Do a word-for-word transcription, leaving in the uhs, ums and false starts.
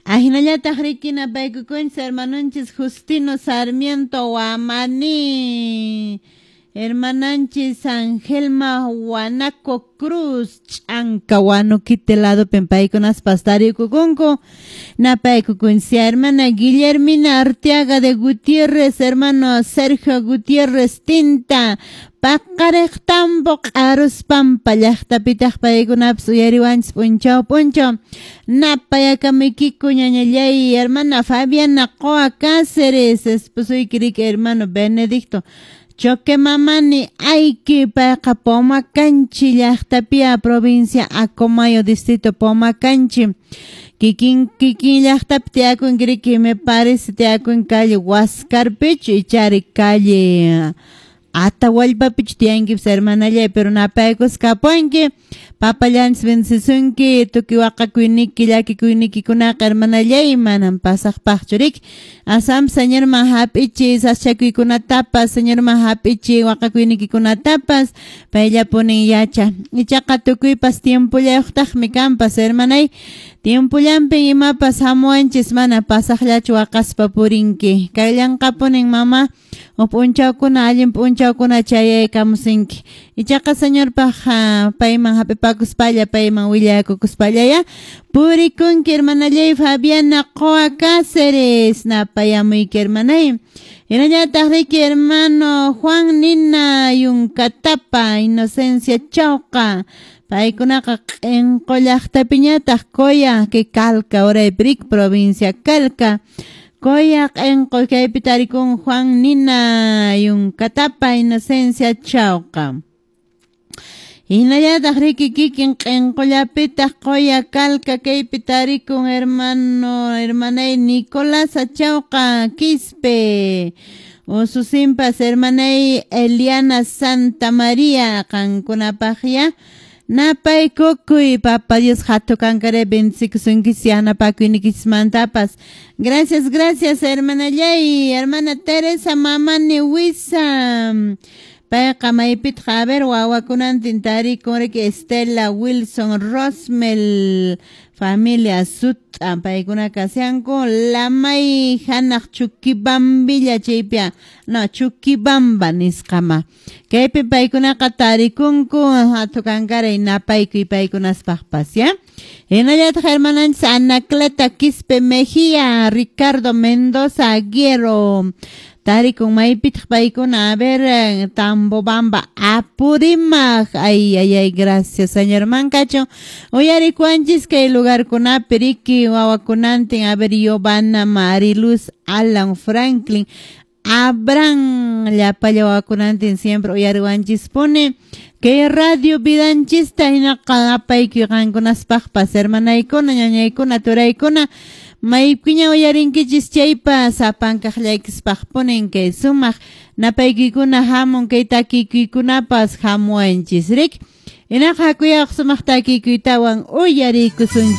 Ahinallataq riki napaykukunchis hermanonchis Justino Sarmiento Wamani, hermananchis Angelma Huanaco Cruz, Ch'anka Huanuquite ladopin paykunaspas tarikukunku. Napaykukunchis hermana Guillermina Arteaga de Gutiérrez, hermano Sergio Gutiérrez Tinta, Paqariq Tambo Q'aruspampa llaqtapitaq paykunapas uyariwanchis p'unchaw p'unchaw. Napayakamuykiku ñañallay, hermana Fabiana Qoa Cáceres, esposoyki riki hermano Benedicto Choque Mamani Ayki, payqa Pomacanchi llaqtapia, provincia Acomayo, distrito Pomacanchi. Kikin kikin llaqtapi tiyakunki riki, me parece tiyakun calle Huascarpichu ichari calle Atahuallpapichu tiyankipas hermanallay, pero napaykus kapunki. Papallanchis bendecisunki, tukuy waqakuyniki llakikuynikikunaqa hermanallay manam pasaqpaqchu riki. Asam Señorman hap'ichi sasachakuykunatapas, Señorman hap'ichi waqakuynikikunatapas, payllapunin yacha. Ichaqa tukuypas tiempollayuqtaqmi kanpas hermanay. Tiempollanpin imapas hamuwanchis, mana pasaqllachu waqaspa purinki. Kayllanqapunin mama, huk p'unchawkuna allin p'unchawkuna chayaykamusinki. Ichaqa Señorpaq payman hap'ipakuspalla, payman willakukuspallaya purikunki hermanallay Fabiana Qoa Cáceres, napayamuyki hermanay. Hinallataq riki hermano Juan Nina Yuncatapa, Inocencia Chauqa, paykunaqa Q'inqu llaqtapiñataq Coya, que Calca, uraypi provincia Calca. Coya Q'inqu kaypi tarikun Juan Nina Yuncatapa, Inocencia Chauqa. Hinallataq riki kikin Q'inqullapitaq Qoya Calca kaypi tarikun hermano hermanay Nicolás Achauqa Quispe. Ususinpas hermanay Eliana Santa María qankunapaqya napaykukuy. Papa Dios hatu kankare bendicikusunkis yanapakuynikismantapas. Gracias, gracias hermanallay, hermana Teresa Mamani Huiza. Payqa maypitaq a ver wawakunantin tarikun riki Estela Wilson Rosmel, familia Sut'a, paykuna kasianku Lamay hanaq Chuquibambilla chaypia, no Chuquibamba nisqama. Kaypi paykunaqa tarikunku hatu kankaray napaykuy paykunaspaqpas ya. Hinallataq hermananchis Anacleta Quispe Mejía, Ricardo Mendoza Aguero, tarikun maypitaq paykuna a ver Tambobamba Apurímac. Ay, ay, ay, gracias Señor Mancacho. Uyarikuanchis kay lugarkunapi riki wawakunantin a ver Giovanna, Mariluz, Alan Franklin, Abraham, llapalla wawakunantin siempre uyariwanchis pone. Kay radio vidanchista hinaqa apaykuy qankunaspaqpas hermanaykuna, ñañaykuna, turaykuna, maypiña uyarinkichis chaypas sapankaqllaykispaq punin kay sumaq napaykikuna hamun kay takikuykunapas hamuwanchis rik. Hinaqa hakuyaq sumaq takikuytawan uyariykusunchis.